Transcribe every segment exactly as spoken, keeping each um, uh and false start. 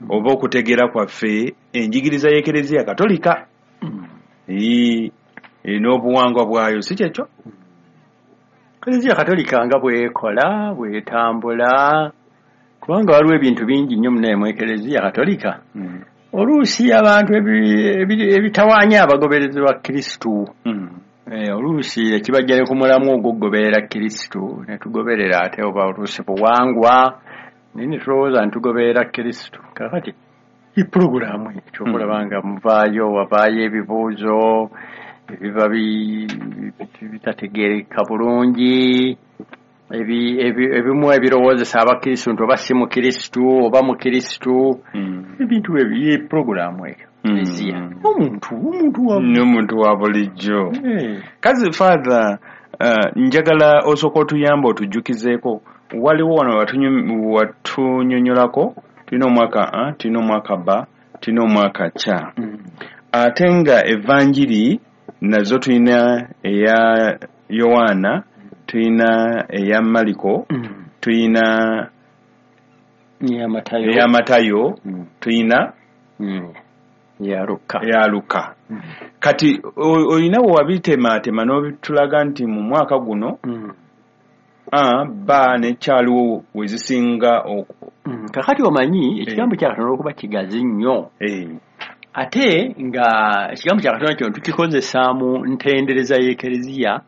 Oba okutegeera kwaffe enjigiriza y'Ekereziya Katolika mm. n'obuwangwa bwayo, si kyekyo? Ekereziya Katolika nga bwekola, bwetambula, kubanga waliwo ebintu bingi nnyo munaye mu Ekereziya Katolika. Mm. Oluusi abantu ebitawaanya abagoberezi ba Kristu. Mm. E, oluusi ekibajja ne ku mulamu ogw'okugoberera Kristu, ne tugoberera ate oba oluusi buwangwa, naye ne tulowooza nti tugoberera Kristu. Kaakati ipulogulaamu ekyo okulaba nga muvaayo, wavaayo ebibuuzo ebiba bitategeereka bulungi, ebimu ebirowoozesa abakristu nti oba si mukristu oba mukristu, ebintu ebyo pulogulaamu eyo. Omuntu omuntu wa bulijjo. Kazi Father, njagala osooka otuyamba otujjukizeeko. Waliwo wano watunyonnyolako tulina omwaka A, tulina omwaka B, tulina omwaka C. Ate nga evanjiri nazo tulina eya Yowaana, tulina eya Maliko, tulina eya Matayo, tulina eya Luka. Eya Luka. Kati olina bwe wabitemaatema n'obitulaga nti mu mwaka guno A, B ne C aliwo we zisinga. Kakati omanyi ekigambo kya Katonda okuba kigazi nnyo, ate nga ekigambo kya Katonda kino tukikozesa mu ntendereza y'Ekereziya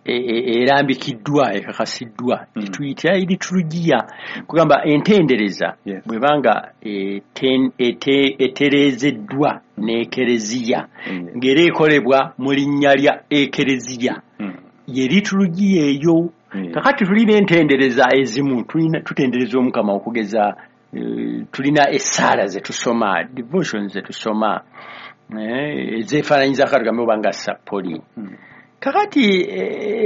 erambikiddwa, ekakasiddwa, tuyita liturgiya, kugamba entendereza bwebanga etereezeddwa n'Ekereziya ng'era ekolebwa mu linnya lya Ekereziya, ye liturgiya eyo. Kakati tulina entendereza ezimu, tutendereza Omukama okugeza, tulina essaala ze tusoma, devotions ze tusoma, ezeefaananyiza katugambe oba nga sappoli. Kakati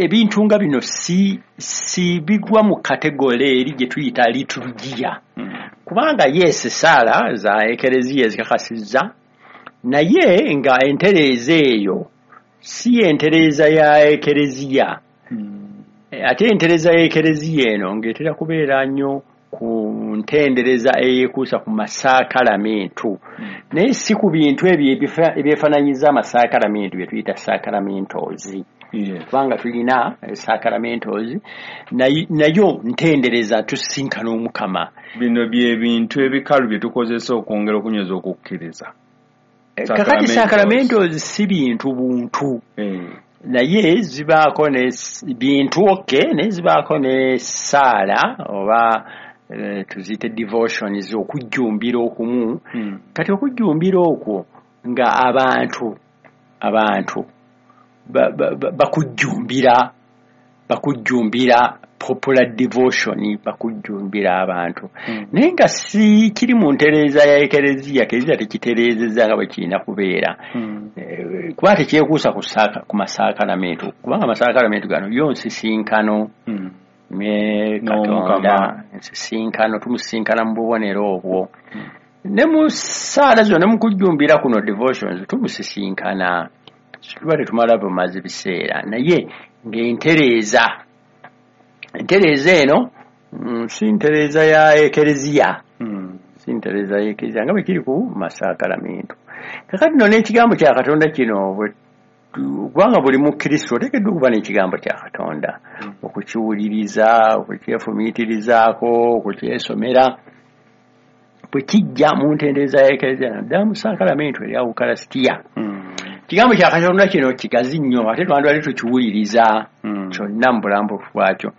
ebintu nga bino si si bigwa mu kategole eri gye tuyita liturgiya, kubanga yes essaala za Ekereziya ezikakasizza, naye nga entereeza eyo si entereeza ya Ekereziya. Ate entereeza y'Ekereziya eno ng'etera kubeera nnyo ku ntendereza eyeekuusa ku masaakalamentu, naye si ku bintu ebyo ebyefaananyiza amasaakalamentu bye tuyita sacramentals. Kubanga tulina sacramentals nayo ntendereza tusisinkana Omukama. Bino bye bintu ebikalu bye tukozesa okwongera okunyweza okukkiriza. Kakati sacramentals si bintu buntu, naye zibaako ne bintu okke, naye zibaako ne ssaala oba tuziyite devotions, okujjumbira okumu. Kati okujjumbira okwo nga abantu abantu bakujjumbira bakujjumbira popular devotion, bakujjumbira abantu, naye nga si kiri mu ntereeza ya Ekereziya. Ekereziya tekitereezezza nga bwe kirina kubeera, kuba tekyekuusa ku masaakalamentu, kubanga amasaakalamentu gano yo nsisinkano ne Katonda, ensisinkano tumusisinkana mu bubonero obwo, ne mu ssaala zino ne mu kujjumbira kuno devotions tumusisinkana, tuba tetumala bumazi biseera, naye ng'entereeza entereeza eno si ntereeza ya Ekereziya, si ntereeza ya Ekereziya nga bwe kiri ku masaakalamentu. Kakati nno n'ekigambo kya Katonda kino, kubanga buli mukristo oteekeddwa okuba n'ekigambo kya Katonda, okukiwuliriza, okukyefumiitirizaako, okukyesomera, bwe kijja mu ntendereza ya Ekereziya naddala mu saakalamentu erya Ukalasitiya. Ekigambo kya Katonda kino kigazi nnyo, ate twandibadde tukiwuliriza kyonna mu bulambufu bwakyo,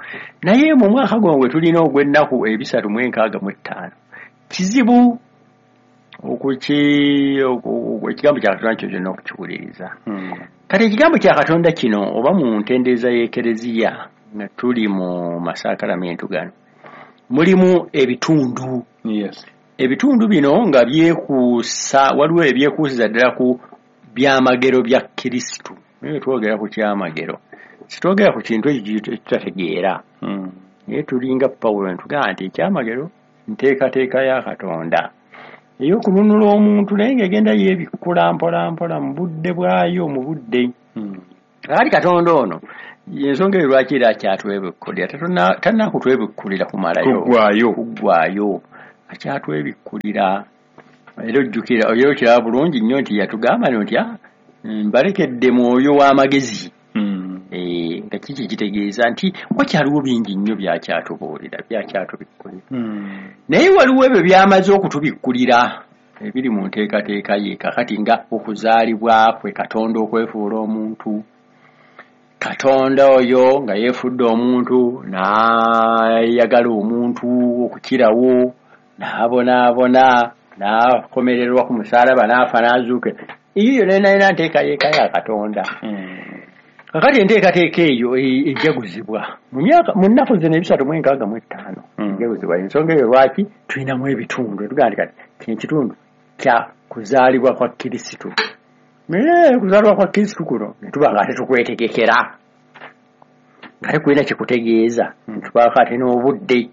naye mu mwaka guno gwe tulina ogw'ennaku ebisatu mu enkaaga mu ettaano kizibu okuki ekigambo kya Katonda kyo kyonna okukiwuliriza. Kati ekigambo kya Katonda kino oba mu ntendereza y'Ekereziya nga tuli mu masaakalamentu gano mulimu ebitundu. Ebitundu bino nga byekuusa, waliwo ebyekuusiza ddala ku byamagero bya Kristu. Naye twogera ku kyamagero, sitwogera ku kintu ekyo ekitategeera, naye tulinga Pawulo ntugamba nti ekyamagero nteekateeka ya Katonda ey'okununula omuntu, naye ng'egenda yeebikkula mpola mpola mu budde bwayo, mu budde. Kakati Katonda ono ensonga eyo lwaki era akyatwebikkulira, tannakutwebikkulira kumalayo, kuggwaayo, kuggwaayo, akyatwebikkulira. Era ojjukira era okiraba bulungi nnyo nti yatugamba nti mbalekedde mwoyo w'amagezi. Eh, nga kiki kitegeeza nti wakyaliwo bingi nnyo byakyatubuulira, byakyatubikkulira. Naye waliwo ebyo byamaze okutubikkulira ebiri mu nteekateeka ye kakati nga okuzaalibwa kwe Katonda okwefuula omuntu. Katonda oyo nga yeefudde omuntu n'ayagala omuntu okukirawo, n'abonaabona, n'akomererwa ku musaalaba, n'afa n'azuukira. Eyo yonna yonna nteekateeka ya Katonda. Kakati enteekateeka eyo ejaguzibwa mu myaka mu nnaku zino ebisatu mu enkaaga mu etaano ejaguzibwa. Ensonga eyo lwaki tulinamu ebitundu, tugamba nti kati kino ekitundu kya kuzaalibwa kwa Kristo. Naye kuzaalibwa kwa Kristo kuno ne tuba nga tetukwetegekera, nga tekulina kikutegeeza, tubaako ate n'obudde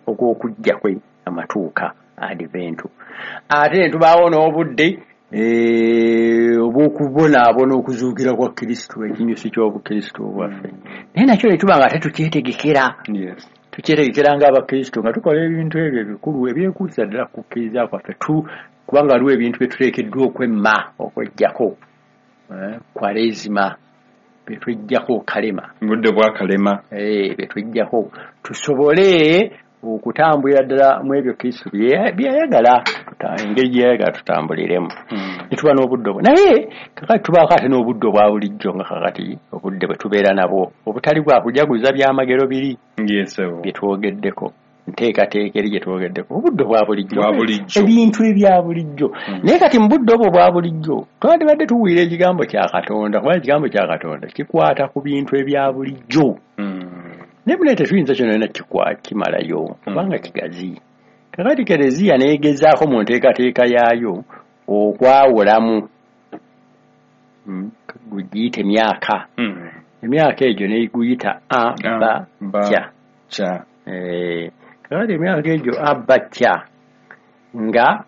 obw'okujja kwe amatuuka Adventu, ate ne tubaawo n'obudde obw'okubonaabona okuzuukira kwa Kristo, ekinyusi ky'Obukristo bwaffe. Naye nakyo ne tuba nga tetukyetegekera, tukyetegekera ng'Abakristo nga tukola ebintu ebyo ebikulu ebyekuusa ddala ku kukkiriza kwaffe, kubanga waliwo ebintu bye tuteekeddwa okwemma okweggyako, Kwaresima bye tweggyako, Kalema, budde bwa Kalema, bye tweggyako tusobole okutambulira ddala mu ebyo Kristo byeyayagala, engeri gye yayagala tutambuliremu. Ne tuba n'obudde obwo. Naye kakati tubaako ate n'obudde obwa bulijjo nga kakati obudde bwe tubeera nabwo obutali bwa kujaguza byamagero biri bye twogeddeko, nteekateeka eri gye twogeddeko, obudde obwa bulijjo, ebintu ebya bulijjo. Naye kati mu budde obwo obwa bulijjo twandibadde tuwulira ekigambo kya Katonda, kuba ekigambo kya Katonda kikwata ku bintu ebya bulijjo. Naye buli tetuyinza kyonna yonna kimalayo kubanga kigazi. Kakati Kereziya n'egezaako mu nteekateeka yaayo okwawulamu gugiyita emyaka, emyaka egyo n'eguyita a ba kya. Kakati emyaka egyo a ba kya nga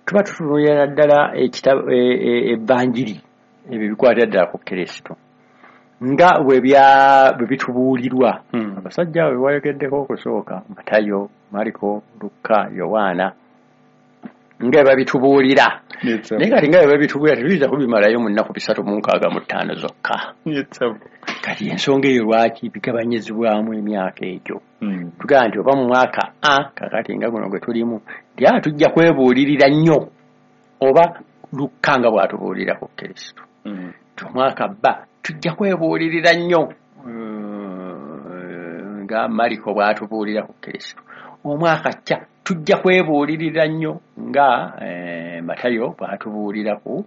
tuba tutunuulira ddala ebbanjiri ebyo bikwatira ddala ku Kristo nga bwe bitubuulirwa. Abasajja abo be wayogeddeko okusooka, Matayo, Mariko, Luka, Yowaana, nga babitubuulira. Naye kati nga bwe babitubuulira tetuyinza kubimalayo mu nnaku bisatu mu nkaaga mu ttaano zokka. Kati ensonga eyo lwaki bigabanyizibwamu emyaka egyo? Tugamba nti oba mu mwaka a kakati nga guno gwe tulimu nti a tujja kwebuulirira nnyo oba Luka nga bw'atubuulira ku Kristo, nti omwaka ba tujja kwebuulirira nnyo nga Mariko bw'atubuulira ku Kristo, omwaka kya tujja kwebuulirira nnyo nga Matayo bw'atubuulira ku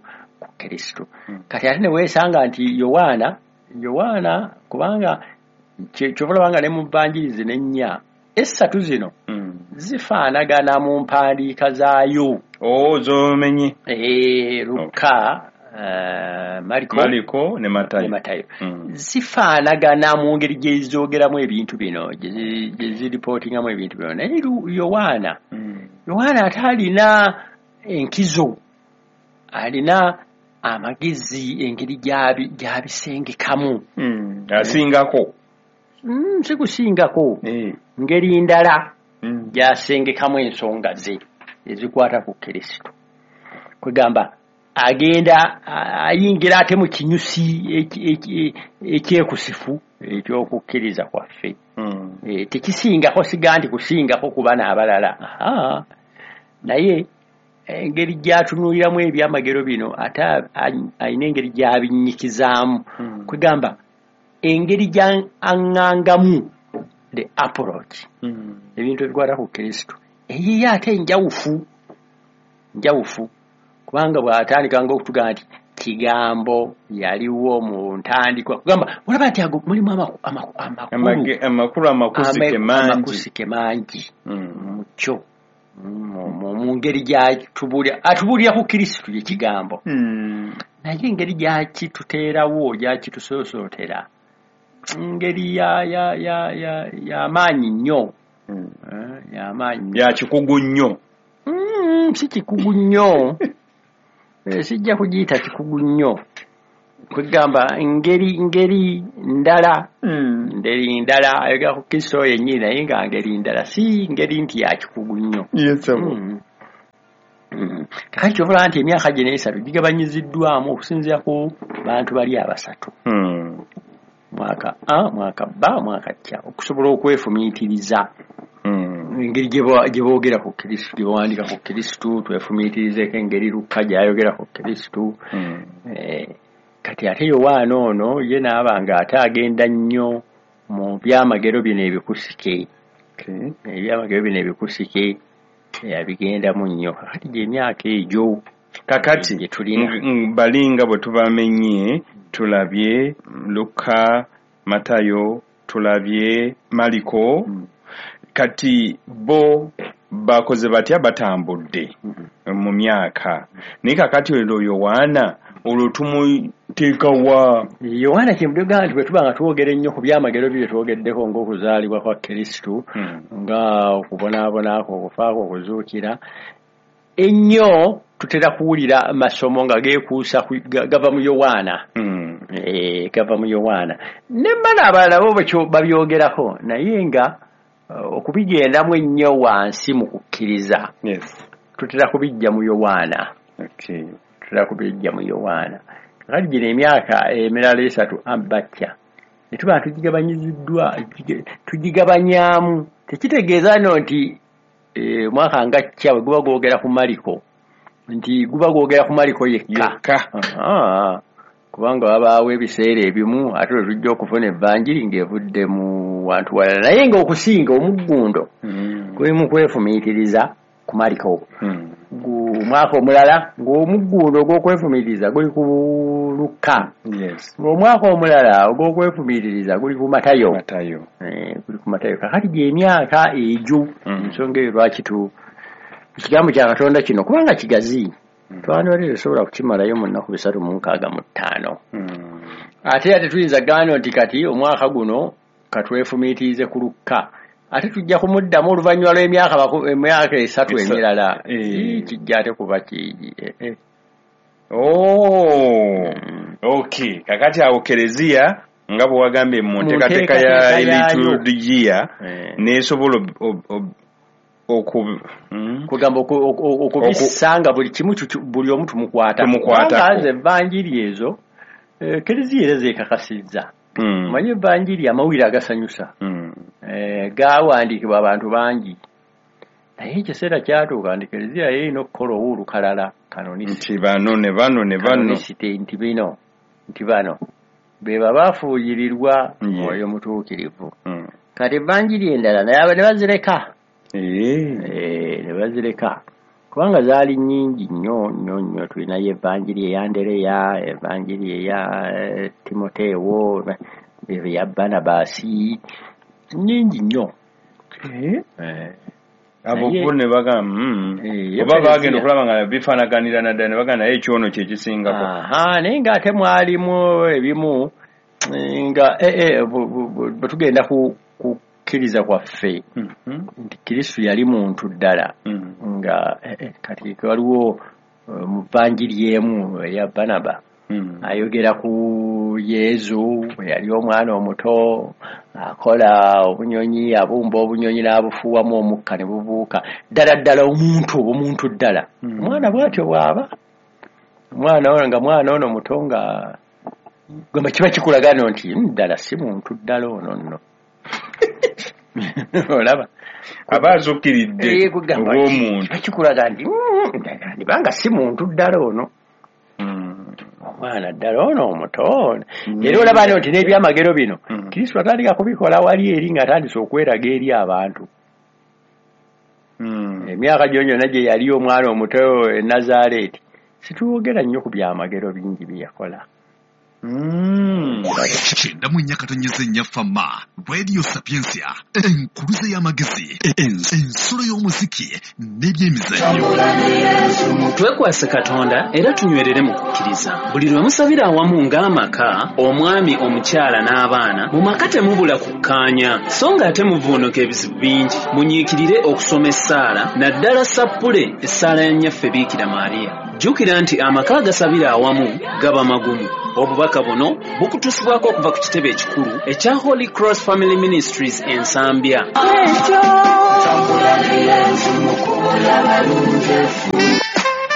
Kristo. Kati ate ne weesanga nti Yowaana, Yowaana kubanga kyova olaba nga ne mu Vvanjiri zino ennya essatu zino zifaanagana mu mpandiika zaayo. Oh, z'omenye. Luka, Mariko, Mariko ne Matayo, ne Matayo. Zifaanagana mu ngeri gye zoogeramu ebintu bino, gye ziripootingamu ebintu bino. Naye Yowaana, Yowaana ate alina enkizo, alina amagezi engeri gy'abisengekamu. Asingako. Si kusingako, ngeri ndala gy'asengekamu ensonga ze ezikwata ku Kristo. Kwegamba agenda ayingira ate mu kinyusi ekyekusifu ekyokukkiriza kwaffe. Tekisingako, siga nti kusingako ku bana abalala, naye engeri gy'atunuuliramu ebyamagero bino ate alina engeri gy'abinnyikizaamu. Kwegamba engeri gy'aŋŋangamu the approach ebintu ebikwata ku Kristo eyiye ate njawufu, njawufu kubanga bw'atandika ng'okutugamba nti kigambo yaliwo mu ntandikwa, kugamba olaba nti ago mulimu amakulu amakusike mangi, amakusike mangi mu kyo, mu ngeri gy'atubuulira, atubuulira ku Kristo ye kigambo, naye engeri gy'akituteerawo, gy'akitusosootera ngeri ya ya ya ya y'amaanyi nnyo, y'amaanyi ya kikugu nnyo. Si kikugu nnyo, sijja kugiyita kikugu nnyo, kwegamba ngeri ngeri ndala, ngeri ndala ayogera ku Kristo yennyini naye nga ngeri ndala, si ngeri nti ya kikugu nnyo. Kati kyova nti emyaka gino esatu gigabanyiziddwamu okusinziira ku bantu bali abasatu. Mm. Mwaka A, mwaka B, mwaka C, okusobola okwefumiitiriza. Mm. Engeri gye boogera ku Kristo, gye bawandiika ku Kristo, twefumiitirizeeko engeri Lukka gy'ayogera ku Kristo. Mm. Eh, kati ate Yowaana ono ye n'aba nga ate agenda nnyo mu byamagero bino ebikusike. Okay. Ebyamagero bino ebikusike yabigendamu nnyo. Kakati gy'emyaka egyo kakati gye tulina. Balinga bwe tubamenye tulabye Luka, Matayo, tulabye Mariko. Mm. Kati bo bakoze batya? Batambudde mm -hmm. mu myaka. Naye kakati olwo Yowaana olwo tumuteekawa. Yowaana kyemudega nti bwe tuba nga twogera ennyo ku byamagero bye twogeddeko ng'okuzaalibwa kwa Kristo, mm. nga okubonaabona kwe, okufa kwe, okuzuukira, ennyo tutera kuwulira masomo nga geekuusa gava mu Yowaana. Mm. Eh, gava mu Yowaana. Ne bano abalala bo babyogerako, naye nga okubigendamu ennyo wansi mu kukkiriza. Yes. Tutera kubijja mu Yowaana. Okay. Tutera kubijja mu Yowaana. Kakati gino emyaka emirala esatu abatya ne tuba tugigabanyiziddwa, tugigabanyaamu. Tekitegeeza nno nti omwaka nga kkya bwe guba gwogera ku Mariko, nti guba gwogera ku Mariko yekka. Kubanga wabaawo ebiseera ebimu ate lwe tujja okufuna evanjiri ng'evudde mu wantu walala, naye ng'okusinga omuggundo guli mu kwefumiitiriza ku Mariko. Omwaka omulala ng'omuggundo ogw'okwefumiitiriza guli ku Luka. Yes. Omwaka omulala ogw'okwefumiitiriza guli ku Matayo. Matayo. Eh, guli ku Matayo. Kakati gy'emyaka egyo, ensonga eyo lwaki tu ekigambo kya Katonda kino kubanga kigazi. Twandibadde tusobola kukimalayo mu nnaku bisatu mu nkaaga mu ttaano. Ate era tetuyinza kugamba nti kati omwaka guno katwefumiitirize ku Luka, ate tujja kumuddamu oluvannyuma lw'emyaka emyaka esatu emirala. Kijja ate kuba ki. Oh, okay. Kakati awo Kereziya nga bwe wagambye mu nteekateeka ya liturgiya n'esobola oku kugamba okubisanga buli kimu, buli omu tumukwata. Tumukwatako. Nze evanjiri ezo Kereziya era zeekakasizza. Omanyi evanjiri amawulire agasanyusa gaawandiikibwa abantu bangi, naye ekiseera kyatuuka nti Kereziya erina okukola ow'olukalala nti bano ne bano ne bano nti bino nti bano be babafuuyirirwa Mwoyo Mutuukirivu. Kati evanjiri endala naye ne bazireka. Eh, ne bazireka kubanga zaali nnyingi nnyo nnyo nnyo. Tulinayo evanjiri eya Andereya, evanjiri eya Timoteewo, eya Barnabasi, nnyingi nnyo. Abo bo ne bagamba oba bagenda okulaba nga bifaanaganira naddala ne bagamba naye ekyono kye kisingako. Aha, naye ng'ate mwalimu ebimu nga bwe tugenda ku kukkiriza kwaffe nti Kristo yali muntu ddala, nga kati waliwo mu vanjiri emu eya Barnaba ayogera ku Yezu bwe yali omwana omuto akola obunyonyi, abumba obunyonyi n'abufuuwamu omukka ne bubuuka. Ddala ddala omuntu omuntu ddala omwana bw'atyo bw'aba omwana ono nga mwana ono muto nga gamba kiba kikulagano nti ddala si muntu ddala ono nno. Olaba aba azuukiridde obw'omuntu kikulaga nti ndibanga si muntu ddala ono, omwana ddala ono omuto. Era olaba nti n'ebyamagero bino Kristo atandika kubikola wali eri ng'atandise okweraga eri abantu. Emyaka gyo gyonna gye yali omwana omuto e Nazaaleeti situwogera nnyo ku byamagero bingi bye yakola. Kyenda mu nnya katonyeze nnya Fama Radio Sapientia, enkuluze y'amagezi, ensulo y'omuziki n'ebyemizannyo. Twekwase Katonda era tunywerere mu kukkiriza. Buli lwe musabira awamu ng'amaka, omwami, omukyala n'abaana, mu maka temubula kukkaanya, so ng'ate muvuunuka ebizibu bingi. Munyiikirire okusoma essaala, naddala sappule essaala ya Nnyaffe Biikira Maria. Jjukira nti amaka agasabira awamu gaba magumu. Obubaka buno bukutuusibwako okuva ku kitebe ekikulu ekya Holy Cross Family Ministries e Nsambya.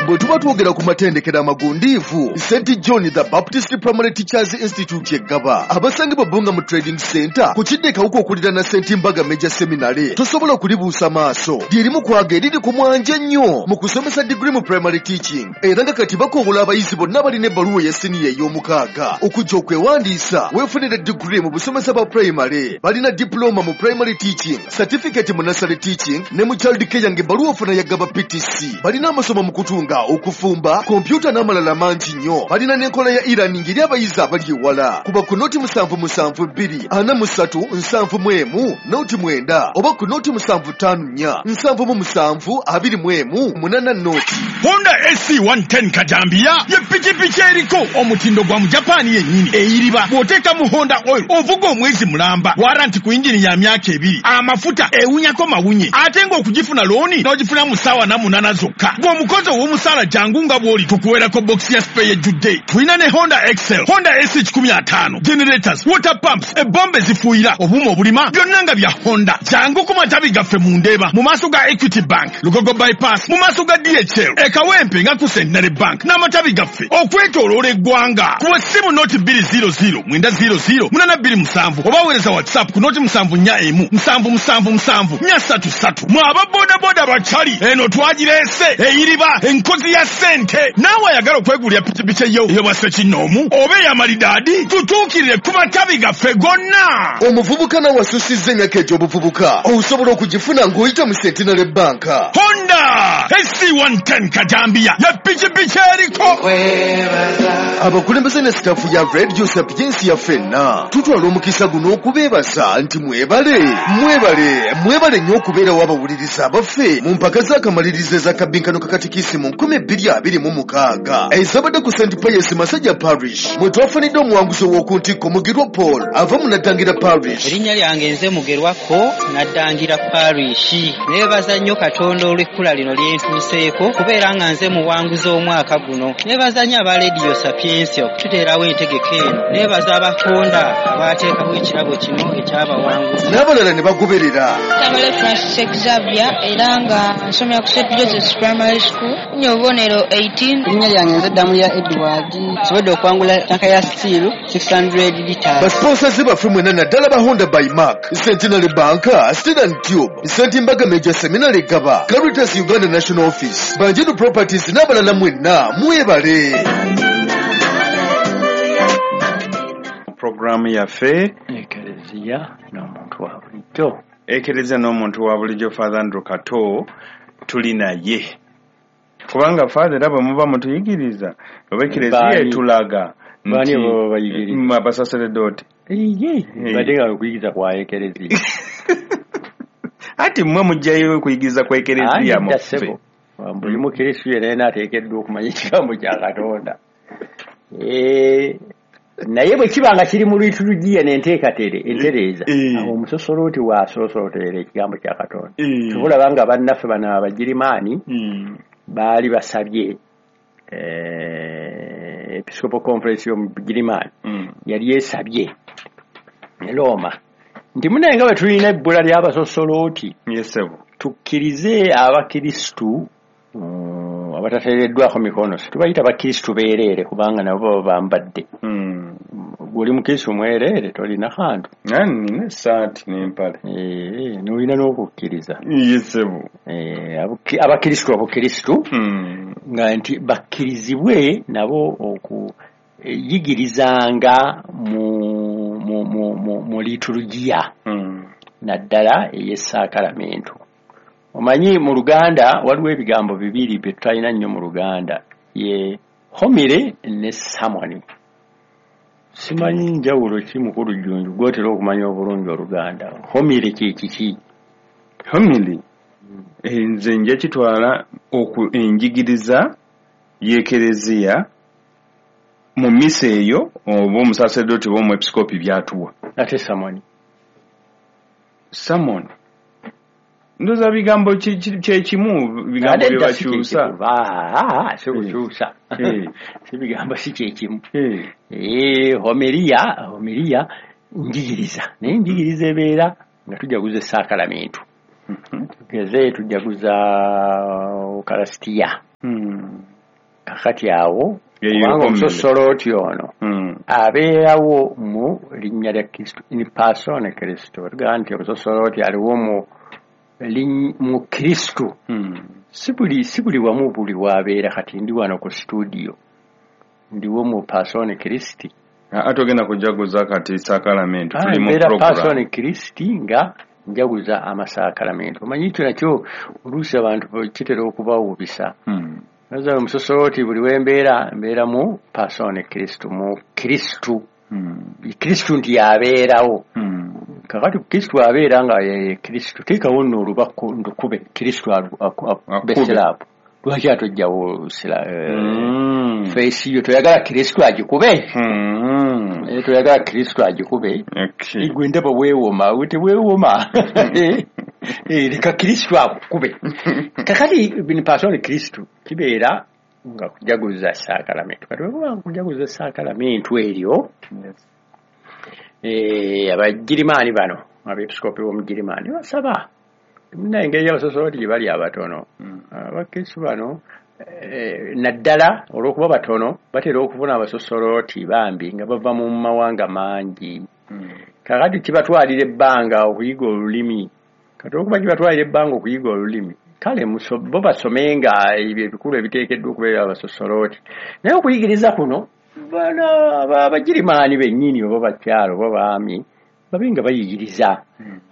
Bwe tuba twogera ku matendekero amagundiivu, Saint John the Baptist Primary Teachers Institute e Ggaba, abasangibwa Bbunga mu Trading Center ku kidde Kawuka okuliraana Saint Mbaga Major Seminary, tosobola kulibuusa maaso. Lyerimu kwaga eriri ku mwanje ennyo mu kusomesa degree mu primary teaching, era nga kati bakowola abayizi bonna balina ebbaluwa eya siniya ey'omukaaga okujja okwewandiisa weefunire degree mu busomesa bwa primary. Balina diploma mu primary teaching, certificate mu nursery teaching ne mu child care ng'ebbaluwa ofuna ya Ggaba P T C. Balina amasomo mu kutunga, okufumba, kompyuta n'amalala mangi nnyo. Balina n'enkola ya e-learning eri abayizi abali ewala. Kuba ku noti musanvu musanvu bbiri ana mu ssatu nsanvu mu emu noti mwenda oba ku noti musanvu ttaano nnya nsanvu mu musanvu abiri mu emu munana noti. Honda A C one ten Kajambiya ye pikipiki eriko omutindo gwa mu Japan yennyini eyiriba. Bw'oteeka mu Honda oil ovuga omwezi mulamba, waranti ku yingini ya myaka ebiri, amafuta ewunyako mawunye, ate ng'okugifuna looni n'ogifuna mu ssaawa na munaana zokka. Bw'omukozi ow'omusaala jangu nga bw'oli tukuweerako bokisi ya spare ejjudde. Tulina ne Honda Excel, Honda A C kikumi ataano, generators, water pumps, ebombe zifuuyira, obuuma obulima, byonna nga bya Honda. Jangu ku matabi gaffe mu Ndeeba, mu maaso ga Equity Bank, Lugogo Bypass, mu maaso ga D H L, e Kawempe nga ku Centenary Bank n'amatabi gaffe okwetooloola eggwanga. Kuba essimu noti bbiri zero zero mwenda zero zero munaana bbiri musanvu oba weereza WhatsApp ku noti musanvu nnya emu musanvu musanvu musanvu nnya ssatu ssatu. Mwe aba bodaboda bakyali eno twagireese eyiriba enkozi ya ssente. Naawe ayagala okwegulira pikipiki eyo ey'obwa ssekinnoomu oba ey'amalidaadi, tutuukirire ku matabi gaffe gonna. Omuvubuka nawe asusizza emyaka egy'obuvubuka osobola okugifuna ng'oyita mu Centenary Bank. Honda A C one ten Kajambiya ye pikipiki eriko. Abakulembeze ne sitaafu ya Radio Sapientia ffenna tutwala omukisa guno okubeebasa nti mwebale mwebale mwebale nnyo okubeerawo abawuliriza abaffe mu mpaka z'akamalirizo ez'akabinkano ka katikisimu nkumi bbiri abiri mu mukaaga ezabadde ku Saint Pius Masajja Parish mwe twafunidde omuwanguzi ow'oku ntikko Mugerwa Paul ava mu Naddangira Parish. Erinnya lyange nze Mugerwako, Naddangira Parish. Neebaza nnyo Katonda olw'ekkula lino lye ntuuseeko kubeera nga nze muwanguzi omwaka guno. Neebaza nnyo aba Radio Sapientia okututeerawo entegeka eno. Neebaza abakonda abaateekawo ekirabo kino ekyabawanguzi n'abalala ne bagoberera. Tamale Francis Xavier era nga nsomera ku Saint Joseph's Primary School, nnya obubonero eighteen. Erinnya lyange nze Ddamulya Edward, nsobodde okuwangula tanka ya steel six hundred liters. Basponsors baffe mwenna naddala ba Honda by Mark, Centenary Bank, Steel and Tube, Saint Mbaga Major Seminary Gaba, Caritas Uganda National Office, Banjinu Properties n'abalala mwenna mwebale. Programu yaffe Ekereziya n'omuntu wa bulijjo. Ekereziya n'omuntu wa bulijjo, Father Andrew Kato tuli naye. Kubanga Father era bwe muba mutuyigiriza oba Ekereziya etulaga bani baba bayigiriza abasaseredooti. Iye, badde nga okuyigiriza kwa Ekereziya. Ati mmwe mujjayo okuyigiriza kwa Ekereziya muffe. Buli mukristu yenna ateekeddwa okumanya ekigambo kya Katonda. Eh, naye bwe kiba nga kiri mu liturujia n'enteekateere entereeza, awo omusosolooti waasoosootera ekigambo kya Katonda. Tubulaba nga bannaffe bano Abagirimaani baali basabye eh, Episcopal Conference y'omu Bugirimaani yali esabye e Roma nti munaye nga bwe tulina ebbula ly'abasosolooti, tukkirize abakristu abatateereddwako mikono, tubayita bakristu beereere kubanga nabo baba bambadde. Gwe oli mukristu mwereere tolina kantu. Nina essaati n'empale. Eh, n'olina n'okukkiriza. Yesebo. Eh, abakristu abakristu nga nti bakkirizibwe nabo okuyigirizanga mu mu mu mu, mu liturujia naddala ey'essaakalamentu. Omanyi mu Luganda waliwo ebigambo bibiri bye tutalina nnyo mu Luganda, ye homily ne sermon. Simanyi njawulo ki mukulu Jjunju gw'otera okumanya obulungi Oluganda. Homily kye kiki? Homily nze nja kitwala enjigiriza y'Ekereziya mu misa eyo oba omusaseredooti oba omwepiskopi by'atuwa. Ate sermon? Sermon Ndoza bigambo kye kimu, bigambo bye bakyusa. Si kukyusa. Si bigambo si kye kimu. Eh, homilia, homilia njigiriza. Naye njigiriza ebeera nga tujaguza essaakalamentu. Tugeze tujaguza Ukaristia. Kakati awo kubanga omusosolooti ono abeerawo mu linnya lya Kristo, in persona Kristo. Tugamba nti omusosolooti aliwo mu mu Kristo. Si buli si buli wamu buli wabeera. Kati ndi wano ku studio, ndiwo mu persona Kristi. Ate ogenda kujaguza kati sakalamento, tuli mu program persona Kristi nga njaguza amasakalamento. Omanyi ekyo nakyo oluusi abantu kitera okubawubisa. Naza omusosolooti buli wembeera mbeera mu persona Kristo, mu Kristo. Kristo nti yabeerawo. Kakati Kristo abeera nga ye Kristo, teekawo nno olubako ndukube Kristo akube siraapu. Lwaki atojjawo feesi yo? Toyagala Kristo agikube? Toyagala Kristo agikube? Gwe ndaba weewoma, teweewoma. Leka Kristo akukube. Kakati in persona Kristo kibeera nga kujaguza sakalamento. Kati bwe kujaguza sakalamento eryo, Abagirimaani bano, abeepiskopi b'Omugirimaani basaba munna engeri y'abasosoloti gye bali abatono. Abakristo bano naddala olw'okuba batono batera okufuna abasosoloti bambi nga bava mu mawanga mangi. Kakati kibatwalira ebbanga okuyiga olulimi. Kati olw'okuba kibatwalira ebbanga okuyiga olulimi, kale bo basomenga ebyo ebikulu ebiteekeddwa okubeera abasosoloti. Naye okuyigiriza kuno bano Abagirimaani bennyini oba bakyalo oba baami babe nga bayigiriza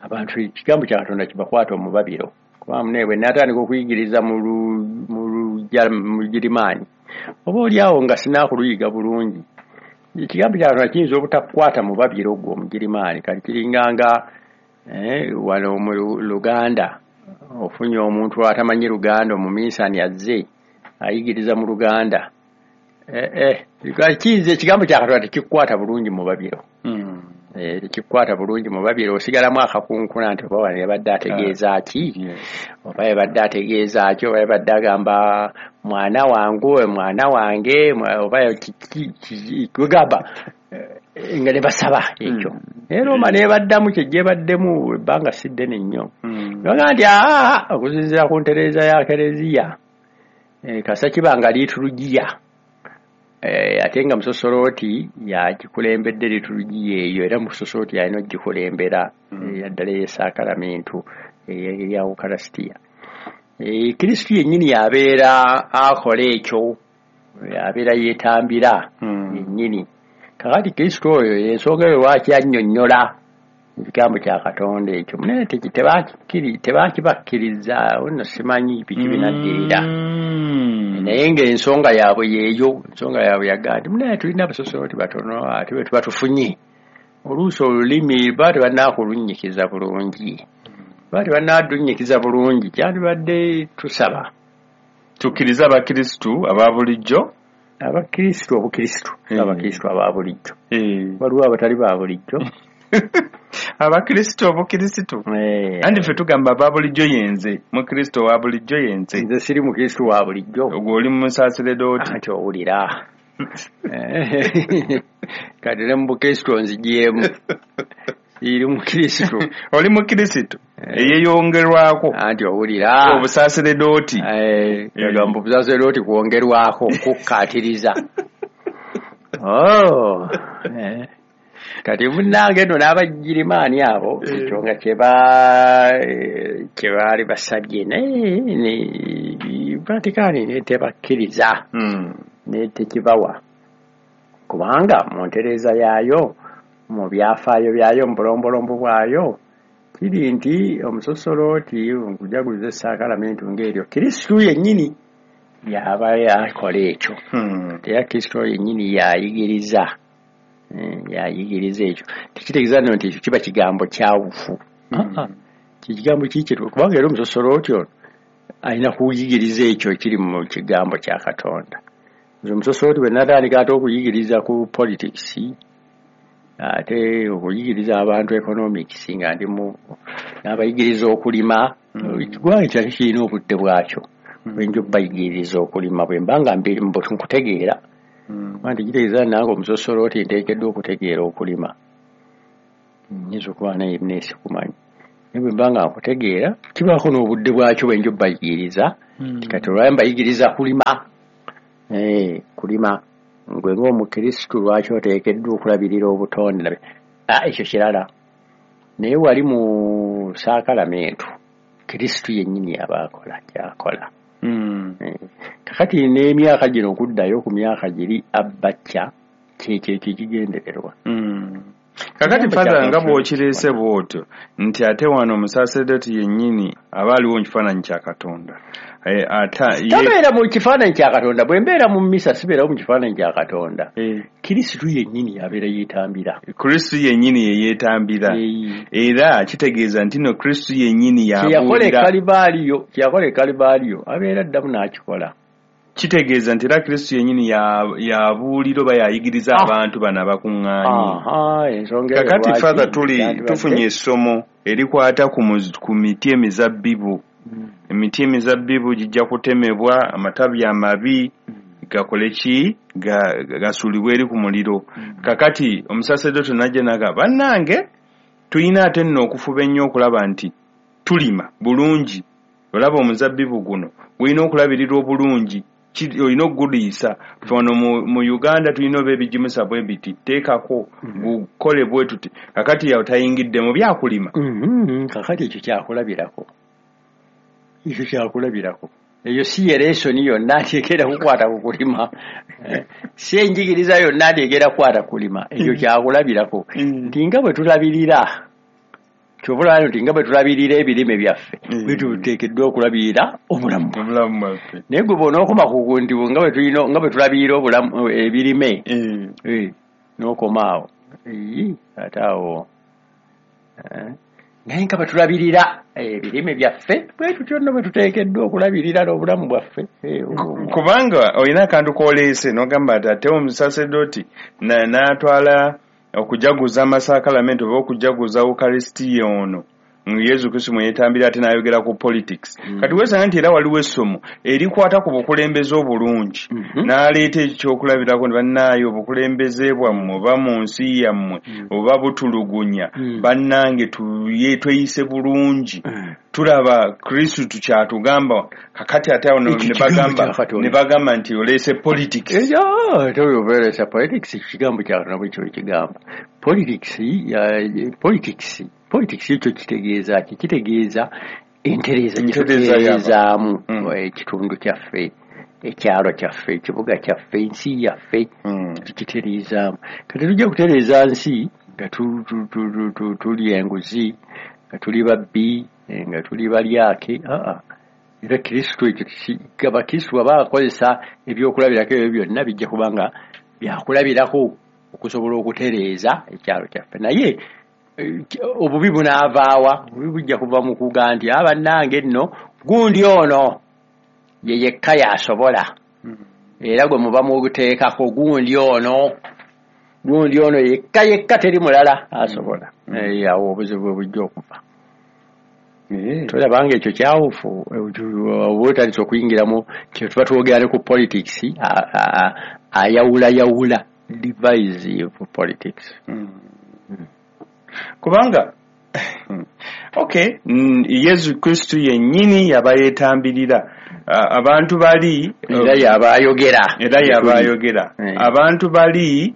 abantu ekigambo kya Katonda kibakwata omubabiro. Kuba munne bwe natandika okuyigiriza mu Lugirimaani oba oliawo nga sinakuluyiga bulungi, ekigambo kya Katonda kiyinza obutakukwata mubabiro gwo Omugirimaani. Kati kiringanga wano mu Luganda ofunye omuntu atamanyi Luganda, omuminsani azze ayigiriza mu Luganda, kiyinza ekigambo kya Katonda tekikukwata bulungi mubabiro. Tekikwata bulungi mubabiro, osigalamu akakunkuna nti oba wano yabadde ategeeza ki, oba yabadde ategeeza ki, oba yabadde agamba mwana wange, mwana wange, oba kwegamba nga ne basaba ekyo. Naye Roma n'ebaddamu kyejja ebaddemu ebbanga si ddene nnyo. Bagamba nti aa okusinziira ku ntereeza ya Kereziya, kasa kiba nga liitulugiya, ate nga musosolooti yagikulembedde liitulugiya eyo, era musosolooti yalina ogikulembera yaddala ey'esakalamento eya Ukaristia. Kristo yennyini yabeera akola ekyo, abeera yeetambira yennyini. Kakati Kristo oyo ensonga eyo lwaki annyonnyola ekigambo kya Katonda ekyo, munene tebakibakkiriza nno simanyi biki binaddirira. Naye ng'ensonga yaabwe yeeyo, ensonga yaabwe yagaa nti munene tulina abasosoloti batono ate bwe tuba tufunye oluusi olulimi baba tebannaakulunyikiza bulungi, baba tebannadunyikiza bulungi, kyandibadde tusaba tukkirize Abakristu aba bulijjo, Abakristu obukristu, Abakristu aba bulijjo, waliwo abatali ba bulijjo. Abakristu obukristu, andi ffe tugamba aba bulijjo yenze, mukristo wa bulijjo yenze. Nze siri mukristu wa bulijjo. Ogwo oli musaseredooti. Anti owulira. Kati ne mu bukristu onzigyemu. Siri mukristu. Oli mukristu eyeyongerwako. Anti owulira. Obusaseredooti. Agamba obusaseredooti kwongerwako, kukkaatiriza. Oh. Kati munnange nno n'Abagirimaani abo ekyo nga kye baali basabye, naye Vatikani netebakkiriza, netekibawa, kubanga mu ntereeza yaayo, mu byafaayo byayo, mu bulombolombo bwayo kiri nti omusosolooti nkujaguza esakalamento ng'eryo Kristo yennyini yaba yakola ekyo. Era Kristo yennyini yayigiriza, yayigiriza ekyo. Tekitegeeza nno nti ekyo kiba kigambo kyawufu. Kigambo kiki, kubanga era omusosolooti ono alina kuyigiriza ekyo ekiri mu kigambo kya Katonda. Nze omusosolooti bwe natandika ate okuyigiriza ku politics, ate okuyigiriza abantu economics, nga ndi mu n'abayigiriza okulima, eggwanga kyakyo kirina obudde bwakyo bwe nja obbayigiriza okulima bwe mba nga nkutegeera. Kuba nti kitegeeza nange omusosolooti nteekeddwa okutegeera okulima, nnyinza okuba naye neesikumanyi, naye bwe mba nga nkutegeera kibaako n'obudde bwakyo bwe nja obbayigiriza. Kati olwayo mbayigiriza kulima, Eh, kulima gwe ng'omukristu lwaki oteekeddwa okulabirira obutonde? Ah, ekyo kirala. Naye wali mu saakalamentu Kristu yennyini aba akola ky'akola. Mm. Eh, kakati n'emyaka gino okuddayo ku myaka giri abbacca kyekyo ekigendererwa. Mm. Kakati Father, nga bw'okireese bw'otyo nti ate wano omusaaserdoti yennyini aba aliwo mu kifaananyi kya Katonda. Eh, ata ye Tabeera mu kifaananyi kya Katonda. Bwe mbeera mu mmisa sibeerawo mu kifaananyi kya Katonda. Eh. Kristu yennyini abeera yeetambira. Kristu yennyini ye yeetambira. Eh. Era kitegeeza nti no Kristu yennyini Kye yakola e yabuulira. Kalibaaliyo, kye yakola e Kalibaaliyo abeera addamu n'akikola. Kitegeeza nti era Kristu yennyini ya- yabuulira oba yayigiriza Ah. abantu bano abakuŋŋaanye. Aha, ensonga eyo Kakati lwaki Father, tuli yandibadde- tufunye essomo erikwata ku muz- ku miti emizabbibu. Mm. Emiti emizabbibu gijja kutemebwa, amatabi amabi gakole ki? Ga- gasuulibwe eri ku muliro. Kakati omusaaserdoti n'ajja n'agamba, bannange tulina ate nno okufuba ennyo okulaba nti tulima bulungi. Olaba omuzabbibu guno gulina okulabirirwa obulungi, ki- olina okuguliisa. Ffe wano mu, mu Uganda tulina oba ebigimusa bwe biti, teekako gukole bwe tuti. Kakati yawe tayingidde mu byakulima. Mhm, kakati ekyo kyakulabirako. Ekyo kyakulabirako. Eyo si ye lesoni yonna nti egenda kukwata ku kulima. Eh, si enjigiriza yonna nti egenda kukwata ku kulima. Ekyo kyakulabirako. Nti nga bwe tulabirira, ky'oba olaba nti nga bwe tulabirira ebirime byaffe, Mm. bwe tuteekeddwa okulabirira obulamu. Obulamu bwaffe. Naye gwe bw'onookoma ku nti nga bwe tulina, nga bwe tulabirira obulamu, ebirime, Eh. eh, n'okoma awo. Eyi, ate awo. Eh, naye nga bwe tulabirira ebirime byaffe, bwe tutyo nno bwe tuteekeddwa okulabirira n'obulamu bwaffe. Eh, obwo- Kubanga olina akantu k'oleese n'ogamba nti ate omusaaserdoti na- n'atwala okujaguza amasakalamenti oba okujaguza Ukarisitiya ono Yesu Kristo mwe yeetambira, ate n'ayogera ku politics. Mm. Kati weesanga nti era waliwo essomo erikwata ku bukulembeze obulungi. Mhm. N'aleeta ekyokulabirako nti bannaayo obukulembeze bwammwe oba mu nsi yammwe Mm. oba butulugunya, Mm. bannange tuye tweyise bulungi. Mm. Tulaba Kristo tukyatugamba. Kakati ate awo Ekyo ne kigambo bagamba kya Katonda. ne bagamba nti oleese politics. Ekyo, toyobeeresa politics, kigambo kya Katonda bwe kyo kigamba. Politics, ya, politics, politics ekyo kitegeeza ki? Kitegeeza entereeza gye Entereeza y'abantu. tutereezaamu Mm. ekitundu kyaffe, ekyalo kyaffe, ekibuga kyaffe, ensi yaffe. Mm. Tukitereezaamu. Kati tujja kutereeza nsi nga tu- tu- tu- tu- tu- tulya enguzi, nga tuli babbi, eh, nga tuli balyake. Aa, era Kristo ekyo kisi- Abakristo bw'aba akozesa ebyokulabirako ebyo byonna bijja kuba nga byakulabirako okusobola okutereeza ekyalo kyaffe. Naye eh, obubi bunaavaawa? Obubi bujja kuva mu kuga nti abannange nno gundi ono ye yekka y'asobola, era gwe muba muguteekako gundi ono, gundi ono yekka yekka teri mulala asobola. Eh, awo obuzibu bwe bujja okuva. Eh. Tolaba nga ekyo kyawufu, oba otandise okuyingiramu kye tuba twogera ne ku politics, a- a- a- ayawulayawula divisive politics. Mm. Kubanga okay, mm, Yesu Kristo yennyini yaba yeetambirira. A- abantu bali Era yaba ayogera. Era yaba ayogera. Eh. Abantu bali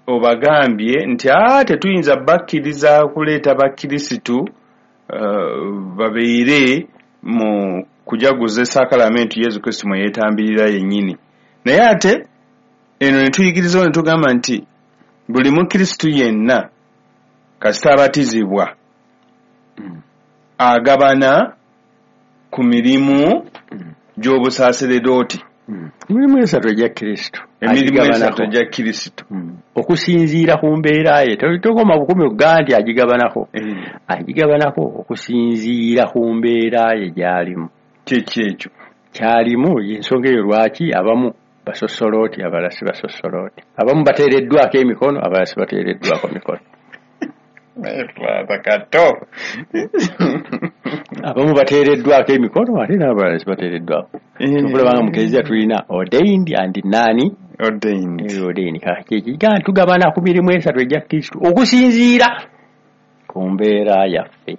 obagambye nti aa tetuyinza bakkiriza kuleeta bakkirisitu uh, babeere mu kujaguza esakalamenti Yesu Kristo mwe yeetambirira yennyini. Naye ate eno ne tuyigirizawo ne tugamba nti buli mukkirisitu yenna kasita abatizibwa Mm. agabana ku mirimu Mm. gy'obusaaseredooti. Mm. Emirimu esatu egya Kristo. Emirimu Agigabanako. esatu egya Kristo. Mm. Okusinziira ku mbeera ye, To- tokoma bukumi okugaa nti agigabanako. Eh, Agigabanako okusinziira ku mbeera ye gy'alimu. Kiki ekyo? Kyalimu y'ensonga eyo lwaki abamu basosolooti, abalala si basosolooti. Abamu bateereddwako emikono, abalala si bateereddwako mikono. Naye Father Kato. Abamu bateereddwako emikono ate n'abalala si bateereddwako. Okulaba nga mu kereziya tulina ordained and nani Ordained. ordained. Kati kye tugabana ku mirimu esatu egya Kristo okusinziira ku mbeera yaffe.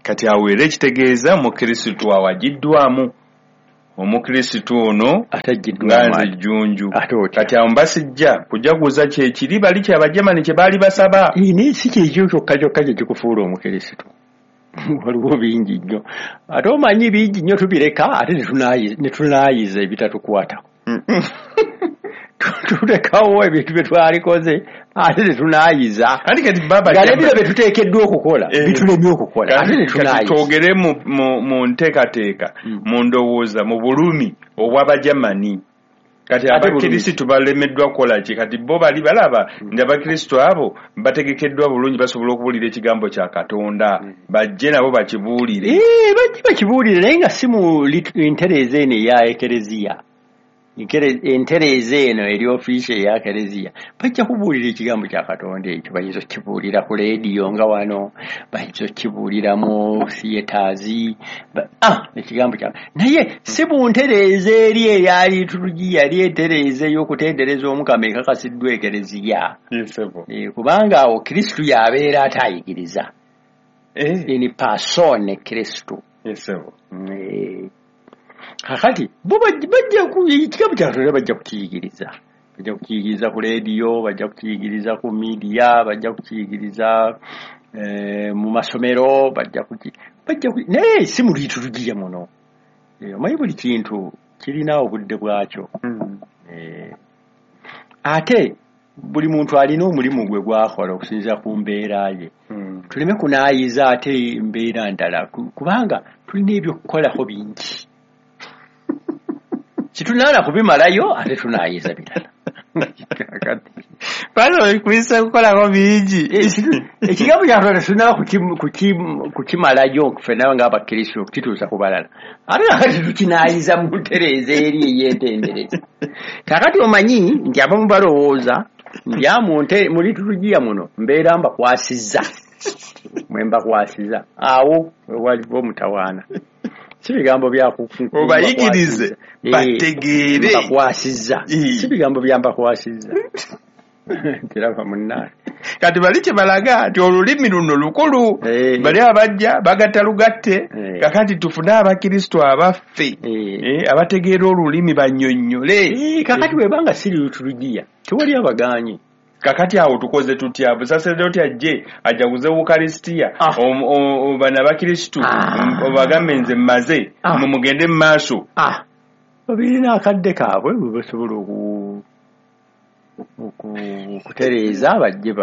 Kati awo era ekitegeeza mu Kristo awagiddwamu. Omukristo ono atajjiddwa nze Jjunju. Kati awo mbasijja kujaguza kyekiri bali kyabajamani kye baali basaba. Naye si kyekyo kyokka kyokka kye kikufuula Omukristo. Waliwo bingi nnyo, ate omanyi bingi nnyo tubireka ate ne tunaayiza ebitatukwatako. Tulekawo ebintu bye twalikoze ate ne tunaayiza. Nga n'ebiro bye tuteekeddwa okukola bitulemye okukola ate ne tunaayiza. Twogere mu nteekateeka, mu ndowooza, mu bulumi obw'Abajamani. Kati Abakristo balemeddwa kukola ki? Kati bo bali balaba nti Abakristo abo bategekeddwa bulungi, basobola okubuulira ekigambo kya Katonda, bajje nabo bakibuulire. Eh, bajje bakibuulire, naye nga si mu ntereeza eno eya Ekereziya. Entereeza eno eri ofiisi eya Kereziya. Bajja kubuulira ekigambo kya Katonda ekyo, bayinza okukibuulira ku leediyo nga wano, bayinza okukibuulira mu theatres, ah, ekigambo kya naye si mu ntereeza eri eya liturujia, eri entereeza ey'okutendereza Omukama ekakasiddwa Ekereziya. Kubanga awo Kristo y'abeera atayigiriza. In persona Kristo. Kakati bo bajja ekigambo kya Katonda bajja kukiyigiriza, bajja kukiyigiriza ku leediyo, bajja kukiyigiriza ku midiya, bajja kukiyigiriza mu masomero, bajja kuki bajja naye si mu liturujia muno. Omanyi buli kintu kirina obudde bwakyo. Ate buli muntu alina omulimu gwe gwakola okusinziira ku mbeera ye. Tuleme kunaayiza ate mbeera ndala, kubanga tulina ebyokukolako bingi. Kitunaala kubimalayo ate tunaayiza birala. Bano kuyisa kukolako bingi. Ekigambo kya Katonda tunaala kukimalayo ffenna ng'Abakristo okukituusa ku balala. Ate kakati tukinaayiza mu ntereeza eri ey'entendereza. Kaakati omanyi nti abamu balowooza nti mu liturujia muno mbeera mbakwasizza, mwe mbakwasizza awo waliwo omutawaana. Si bigambo bya obayigirize bategeere mbakwasizza, si bigambo bya mbakwasizza. Kiraba munnange. Kati bali kye balaga nti olulimi luno lukulu, bali abajja bagatta lugatte. Kakati tufune Abakristo abaffe abategeera olulimi bannyonnyole. Kakati bwebanga si liturujia tewali abagaanyi. Kakati awo tukoze tutya? Busaseredoti ajje ajaguze Ukaristia, bano Abakristo obagambe nze mmaze, mumugende mu maaso. Babirina akadde kaabwe bwe basobola okutereeza bajje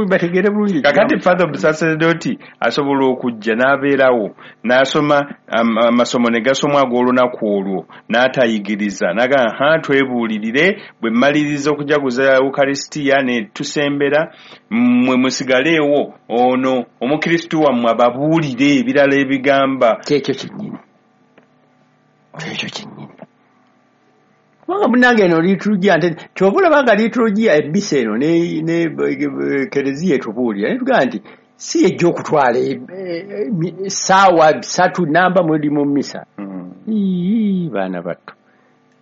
bategeere bulungi. Kakati Father Busaseredoti asobola okujja n'abeerawo n'asoma amasomo ne gasomwa ag'olunaku olwo n'atayigiriza, n'agamba ha twebuulirire, bwe mmaliriza okujaguza Ukaristia ne tusembera, mmwe musigaleewo ono Omukristo wammwe ababuulire ebirala ebigamba. Kyekyo kyennyini, kyekyo kyennyini. Kubanga munnange eno liturujia, nte kyova olaba nga liturujia ebisa eno ne Kereziya etubuulira ne tugamba nti si ejja okutwala essaawa ssatu namba muli mu mmisa. Ii baana batto,